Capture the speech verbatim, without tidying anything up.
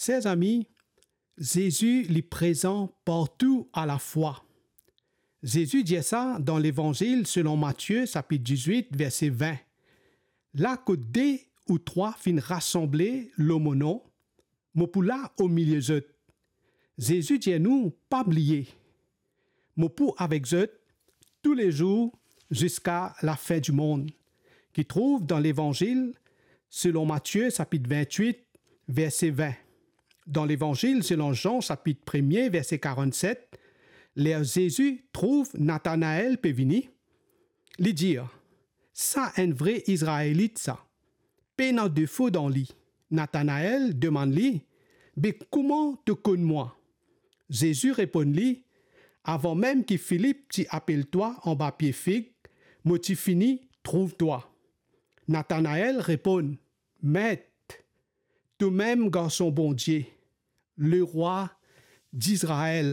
Ser zami, Zezi li prezan partou alafwa. Zezi dir sa dan Levanzil selon Matie, sapit dizwit, verse vin. La kot de ou trwa finn rasanble lor mo nom, mo pou la omilie zot. Zezi dir nou pa bliye, mo pou avek zot toulezour ziska lafin dimond, ki trouv dan Levanzil selon Matie, sapit vintwit, verse vin. Dan Levanzil selon Zan, sapit premie, verse karannset, ler Zezi trouv Natanael pe vini, li dir, "Sa enn vre Izraelit sa, pena defo dan li." Natanael demann li, "Be kouma to konn mwa?" Zezi reponn li, "Avan mem ki Filip ti apel twa anba pie fig, mo ti fini trouv twa." Natanael reponn, "Met, tomem Garson Bondie, Lerwa Dizrael."